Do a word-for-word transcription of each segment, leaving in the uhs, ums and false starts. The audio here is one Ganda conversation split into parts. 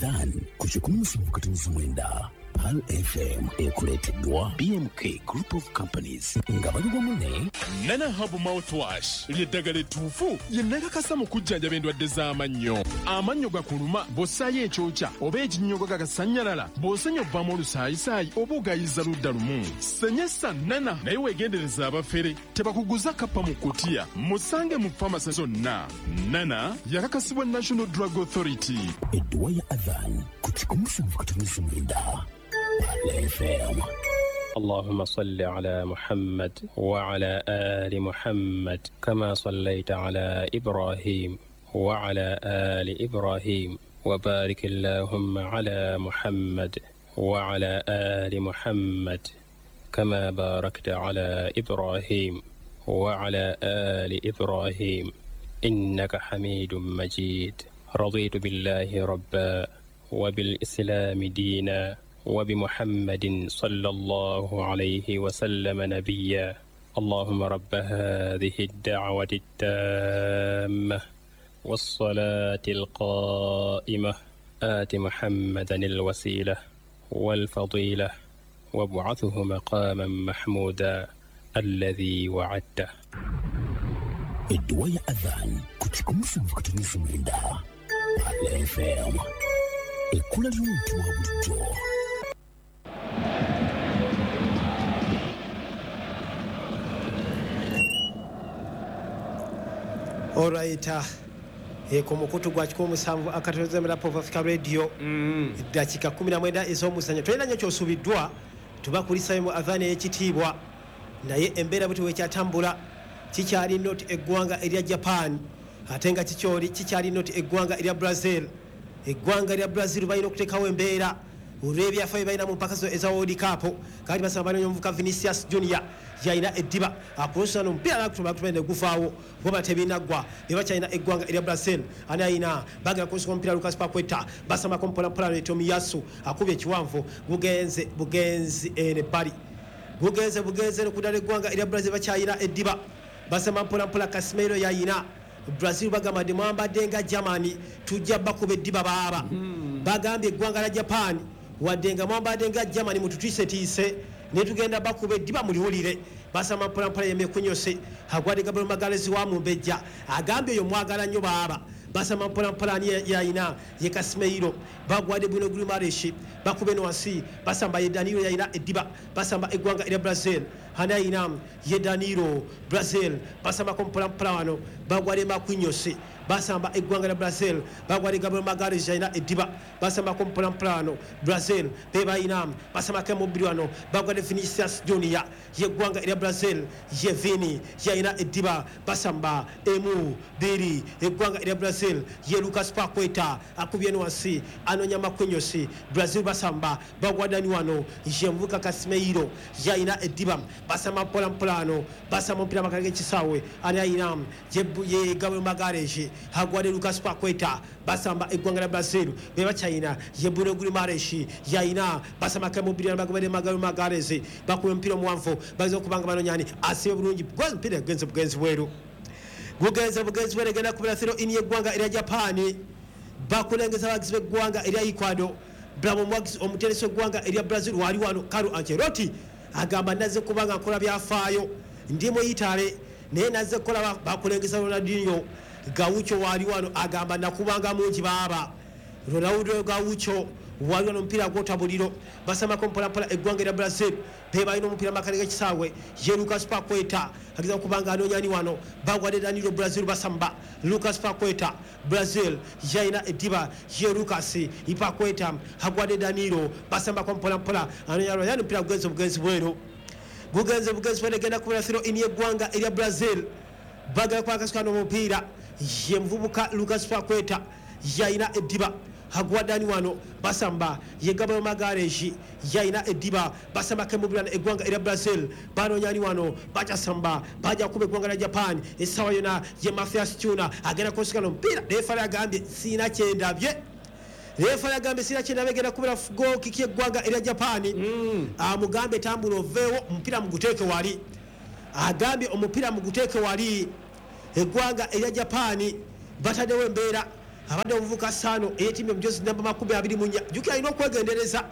Adhan ku kikumi musanvu katonnyeza mwenda Pearl F M ekuleeteddwa B M K Group of Companies nga bali wamu ne Nana Herbal Mouthwash ly'eddagala ettuufu lye nakakasa mu kujjanjaba endwadde z'amannyo. Amannyo gakuluma bw'ossaayo ekyokya oba ekinnyogo gagasannyalala, bw'osenya ovaamu olusaayisaayi oba ogayiza ludda lumu. Senyesa Nana naye weegendereza abafere tebakuguza kappa mu kutiya. Musange mu famasi zonna. Nana yakakasibwa National Drug Authority. Edduwa ya Adhan ku kikumi musanvu katonnyeza mwenda Pearl F M. اللهم صل على محمد وعلى آل محمد كما صليت على إبراهيم وعلى آل إبراهيم وبارك اللهم على محمد وعلى آل محمد كما باركت على إبراهيم وعلى آل إبراهيم إنك حميد مجيد. رضيت بالله ربا وبالإسلام دينا وبمحمد صلى الله عليه وسلم نبيا. اللهم رب هذه الدعوة التامة والصلاة القائمة آت محمدا الوسيلة والفضيلة وابعثه مقاما محمودا الذي وعدته. Edduwa ya Adhan ku kikumi musanvu katonnyeza mwenda Pearl F M. Ekkula ly'omuntu wa bulijjo. Alright, eh, ku mukutu gwa kikumi musanvu akatonoza Mirapo of Africa Radio. Eddakiika kkumi na mwenda ez'omuzannyo. Tolina nnyo ky'osuubiddwa, tubakulisayo mu Adhan ey'ekitiibwa. Naye embeera bwe bwekyatambula, kikyali noti eggwanga erya Japan, ate nga kikyoli kikyali noti eggwanga erya Brazil. Eggwanga lya Brazil balina okuteekawo embeera olw'ebyafaayo balina mu mpaka eza World Cup. Kati basaba banoonya omuvubuka Vinicius Junior yalina eddiba akulusana omupiira n'akutuma akutuma ne guvaawo goba tebinaggwa. Ne bakyalina eggwanga erya Brazil. Ani ayina bagala kulusika omupiira Lucas Paqueta basamako mpolampola ne Tomiyasu akubye ekiwanvu gugenze bugenzi ene bbali gugenze bugenze n'okudala eggwanga erya Brazil bakyalina eddiba basama mpolampola Casemiro yayina. Brazil bagamba nti mwambadde nga Germany tujja bakuba eddiba baaba. Bagambye eggwanga lya Japan wadde nga mwambadde nga Germany mututiisetiise ne tugenda bakuba eddiba muliwulire. Basama mpolampola yemekunyose agwadde Gabriel Magalhaes wa Mumbejja agambye oyo mwagala nnyo baaba. Basama mpolampola ani yayina ye Casemiro bagwadde Bruno Guimaraes bakube no wansi basamba ye Danilo yayina eddiba basamba eggwanga erya Brazil ani ayina ye Danilo Brazil basambako mpolampola wano bagwadde Marquinhos basamba eggwanga lya Brazil bagwadde Gabriel Magalhaes yayina eddiba basambako mpolampola wano Brazil be bayina basambako emubiri wano bagwadde Vinicius Junior yeggwanga erya Brazil ye Vini yayina eddiba basamba emu biri eggwanga erya Brazil ye Lucas Paqueta akubye wansi anonya Marquinhos Brazil basamba bagwadani wano ye mvuka Casemiro yayina eddiba basamba mpolampola wano basamba omupiira makala g'ekisaawe ani ayina ye Gabriel Magalhaes agwadde Lucas Paqueta basamba eggwanga lya Brazil be bakyayina ye Bruno Guimaraes yayina basamba kemubiri bagobere Gabriel Magalhaes bakuba omupiira omuwanvu bageza okubanga banonyani asibe bulungi omupiira gugenze bugenzi bweru gugenze bugenzi bweru egenda kubira throw in y'eggwanga erya Japan bakulengeza abagizi b'eggwanga erya Ecuador. Bravo Mwagizi omuteresi w'eggwanga erya Brazil wali wano Carlo Ancelotti agamba nazze kubanga nkola byafaayo ndi mu Italy naye nazze kukola bakulengeza Ronaldinho Gaucho wali wano agamba nakubanga mungi baaba. Ronaldo Gaucho wali wano omupiira gwotabuliro basamako mpolampola eggwanga erya Brazil be balina omupiira makale g'ekisaawe ye Lucas Paqueta ageza okubanga anoonyani wano bagwadde Danilo Brazil basamba Lucas Paqueta Brazil yayina eddiba ye Lucas Paqueta agwadde Danilo basambako mpolampola anoonya yani omupiira gugenze bugenzi bweru gugenze bugenzi bweru egenda kubera throw in y'eggwanga erya Brazil bagala kwakasuka n'omupiira ye muvubuka Lucas Paqueta yayina eddiba agwadani wano basamba ye Gabriel Magalhaes yayina eddiba basamba kemubirana eggwanga erya Brazil banoonyani wano bakyasamba bajja kuba eggwanga lya Japan essaawa yonna ye Mathias Tuna agenda kusikana omupiira referee agambye siina kyendabye referee agambye siina kyendabye egenda kubera goal kick y'eggwanga erya Japan amugambe tambula oveewo omupiira muguteeke wali agambye omupiira muguteeke wali eggwanga erya Japan bataddewo embeera Abadde omuvuka Sano eyetimbye omujozi namba makumi abiri mu nnya. Jjukira alina okwegendereza,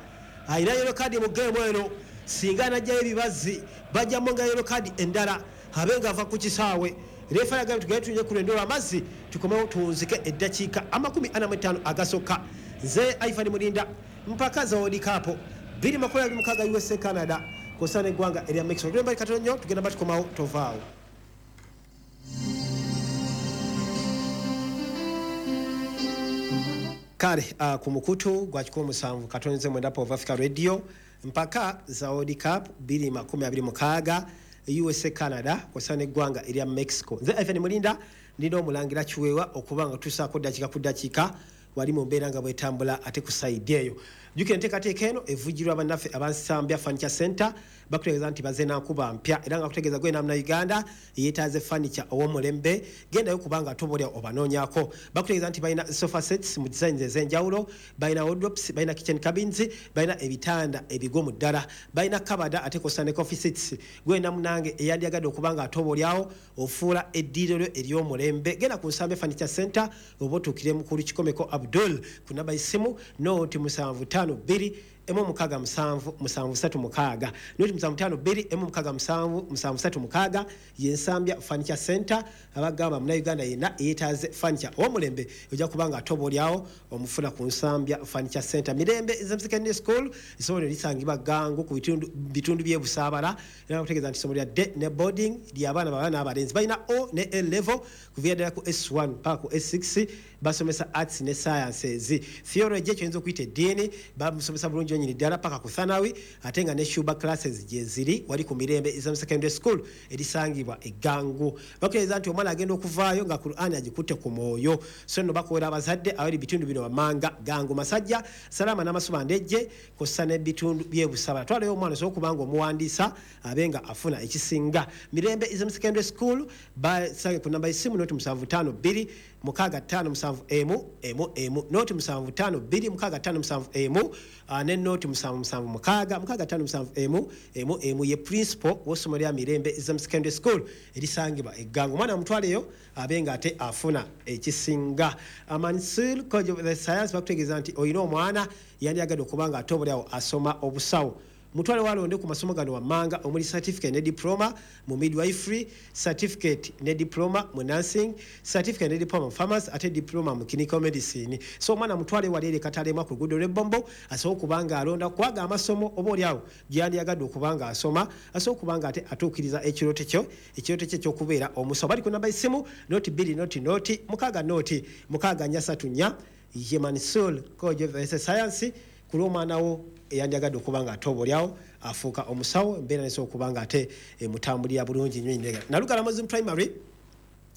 alina yellow card mu geemu eno. Singa anajjayo ebibazi bajjamu nga yellow card endala abe nga ava ku kisaawe. Refa yagambye tugende tunye ku lwendo lw'amazzi tukomewo tuwunzike eddakiika amakumi ana mu ttaano agasooka. Nze Ivan Mulinda, mpaka za World Cup bbiri makumi abiri mukaaga U S A Canada kw'ossa n'eggwanga erya Mexico. Tugenda katono nnyo, tugenda batukomawo, tovaawo. Kale uh, ku mukutu gwa kikumi musanvu katonze mwenda of Africa Radio, mpaka za World Cup bbiri makumi abiri mukaaga U S A Canada kw'ossa n'eggwanga erya Mexico. Nze Ivan Mulinda ndina omulangira Kiweewa okuba nga tusaako ddakiika ku ddakiika wali mu mbeera nga bwetambula ate ku sayidi eyo. Jjukira enteekateeka eno evujjirwa bannaffe abansambya Furniture Center, bakutegeeza nti bazze na nkuba mpya era nga kutegeeza gwe namna Uganda yeetaaze furniture ow'omulembe, gendayo kubanga tobolya obanoonyaako. Bakutegeeza nti balina sofa sets mu designs ez'enjawulo, balina wardrobes, balina kitchen cabins, balina ebitanda ebigumu ddala, balina kabada ate kw'ossa ne coffee sets. Gwe namunange eyandyagadde okuba nga atobolyawo ofuula eddiiro lyo ery'omulembe, genda ku Nsambya Furniture Center oba otuukire mukulu Kikomeko Abdul ku namba y'essimu noti musanvu ttaano bbiri emu mukaaga musanvu musanvu ssatu mukaaga noti musanvu ttaano bbiri emu mukaaga musanvu musanvu ssatu mukaaga. Ye Nsambya Furniture Center abagamba Munnayuganda yenna yeetaaze furniture ow'omulembe ojja kuba nga atobolyawo omufuna ku Nsambya Furniture Center. Mirembe Islam Secondary School essomero lisangibwa Gangu ku bitundu bitundu by'e Busaabala, era bakutegeeza nti essomero lya day ne boarding ly'abaana bawala n'abalenzi, balina O ne A level kuviira ddala ku S one paka ku S six, basomesa arts ne sciences. Theology ekyoyinza okuyita eddiini bamusomesa bulungi nnyini ddala paka ku Thanawi, ate nga ne Shuba classes gye ziri wali ku Mirembe Islam Secondary School erisangibwa e Gangu. Bakutegeeza nti omwana agenda okuvaayo nga Qur'an agikutte ku mwoyo. So nno bakuwera abazadde abali bitundu bino wammanga Gangu, Masajja, Salama n'Amasuba Ndejje kw'ossa n'ebitundu by'e Busabala. Twalayo omwana osobola okuba nga omuwandiisa abe nga afuna ekisinga. Mirembe Islam Secondary School basange ku namba y'essimu noti musanvu ttaano bbiri mukaaga ttaano musanvu emu emu emu noti musanvu ttaano bbiri mukaaga ttaano musanvu emu ne noti musanvu musanvu mukaaga mukaaga ttaano musanvu emu emu emu. Ye principal w'essomero lya Mirembe Islam Secondary School erisangibwa e Gangu. Omwana amutwaleyo abe nga ate afuna ekisinga. Mansur College of the Science bakutegeeza nti olina omwana yandyagadde okuba nga atobolyawo asoma obusawo, mutwale walonde ku masomo gano wammanga omuli certificate ne diploma mu midwifery, certificate ne diploma mu nursing, certificate ne diploma mu pharmacy ate diploma mu clinical medicine. So omwana mutwale wali eri Katalema ku luguudo lw'Ebbombo asobola okuba nga alonda kwaga amasomo oba oliawo gyandyagadde okuba nga asoma, asobola okuba nga ate atuukiriza ekirooto kyo ekirooto kye eky'okubeera omusawo. Bali ku namba y'essimu noti bbiri noti noti mukaaga noti mukaaga nnya ssatu nnya. Ye Mansur College of the Science ku lw'omwana wo eyandyagadde okuba nga atobolyawo afuuka omusawo, embeera nesobola okuba nga ate emutambulira bulungi nnyo nnyo. Nalugala Muslim Primary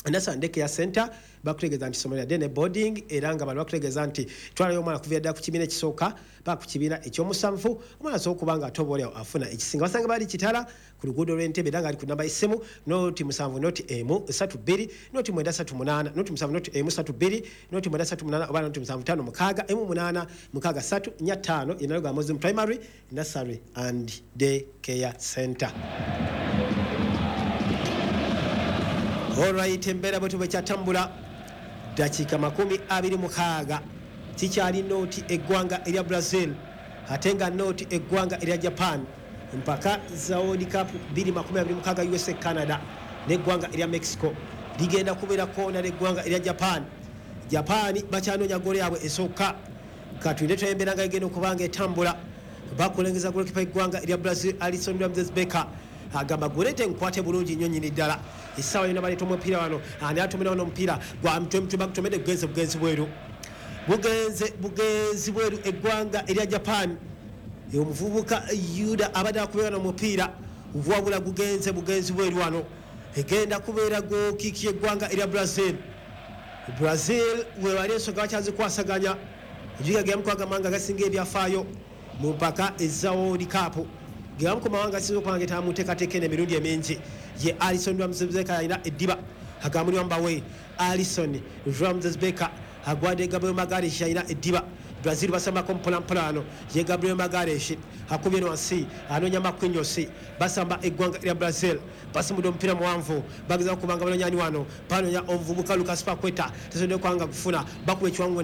Nasa Ndeke ya Center bakutegeeza nti essomero lya day ne boarding, era nga bano bakutegeeza nti twalayo omwana kuviira ddala ku kibiina ekisooka paka ku kibiina ekyomusanvu, omwana asobola okuba nga atobolyawo afuna ekisinga. Basanga bali Kitala ku luguudo lw'Entebe era nga ali ku namba y'essimu noti musanvu noti emu ssatu bbiri noti mwenda ssatu munaana noti musanvu noti emu ssatu bbiri noti mwenda ssatu munaana oba noti musanvu ttaano mukaaga emu munaana mukaaga ssatu nnya ttaano. Ye Nalugala Muslim Primary Nursery and Day Care Center. Alright, embeera bwe tuba kyatambula dakiika makumi abiri mukaaga kikyali nooti eggwanga erya Brazil ate nga nooti eggwanga erya Japan mpaka za World Cup bbiri makumi abiri mukaaga U S A Canada n'eggwanga erya Mexico ligenda kubeera koona n'eggwanga erya Japan. Japan bakyanoonya ggoolo yaabwe esooka, katulinde twembeera nga egenda okuba nga etambula. Bakulengeza ggoolokipa eggwanga erya Brazil Alisson Ramses Becker agamba gulete nkwate bulungi nnyo nnyini ddala. Essaawa yonna baleeta omupiira wano, ani atumira wano omupiira gwa mutwe mutwe bagutomedde bugenze bugenzi bweru bugenze bugenzi bweru eggwanga erya Japan. Omuvubuka Yuda abadde akubeera n'omupiira wabula gugenze bugenzi bweru wano, egenda kubeera gokiiki eggwanga erya Brazil. Brazil we bali ensonga bakyazikwasaganya, ejjuga ge yamu amawanga agasinga ebyafaayo mu mpaka eza World Cup, ge yamu ku mawanga asinga okuba nga etamuteekateeka eno emirundi emingi. Ye Alisson Ramses Becker alina eddiba agamuli wambawe Alisson Ramses Becker agwadde Gabriel Magalhaes alina eddiba Brazil basambako mpolampola wano ye Gabriel Magalhaes akubye wansi, anoonya Marquinhos. Basamba eggwanga lya Brazil, basimbudde omupiira muwanvu, bagezaako kubanga banonyani wano, banoonya omuvubuka Lucas Paqueta, tesobodde kwanga kufuna, bakuba ekiwangu.